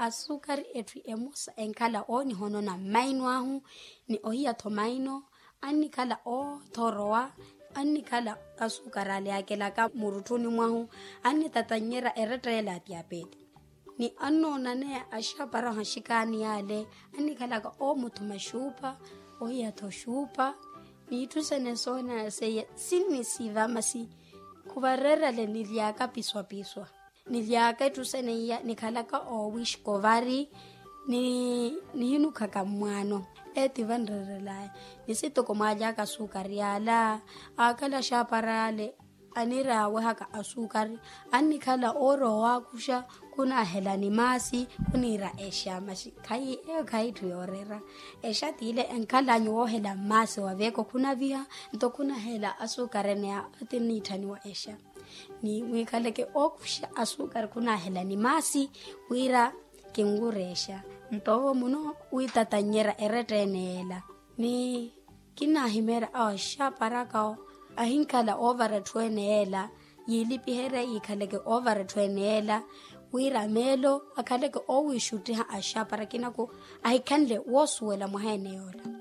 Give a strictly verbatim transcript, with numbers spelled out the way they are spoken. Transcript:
Asukari etthu emosa enkhala oonihonona mmaino ahu ni ohiya-tho maino. Annikhala oothorowa, annikhala asukari ale yaakelaka murutthuni mwahu, annitatannyerya eretteela ya tiyapeti. Ni annoonaneya axapara ohaxikaani yaale, annikhalaka oomuthuma xuupa, ohiya-tho xuupa. Ni itthu sene soona seiya sinnisiva masi khuvareerale nilyaka piswapiswa. Nilyaka itthu sene iya nikhalaka oowixka ovari, ni nihinukhaka mmwaano. Eeti vanreerelaya. Ni sitoko mwaalyaka asukari yaala, aakhala axapara ale aniraawehaka asukari, annikhala oorowa owaakuxa, khunahela ni maasi, khuniira exa masi khayi eyo khayi itthu yooreera. Exa tiile enkhalanyu woohela mmaasi wa veeko khunaviha, nto khunahela asukari ene ya ati nniitthaniwa exa. Ni mwiikhaleke ookuxa asukari khunahela ni maasi wira kinwurexa. Nto owo muno wiitatannyerya eretteene yeela. Ni kinnahimeerya awo axaparaka awo ahinkhala oovara etthu ene yeela, yiilipiherye yiikhaleke oovara etthu ene yeela, wira meelo akhaleke oowiixuttiha axapara kinako ahikhanle woosuwela mwaha ene yoola.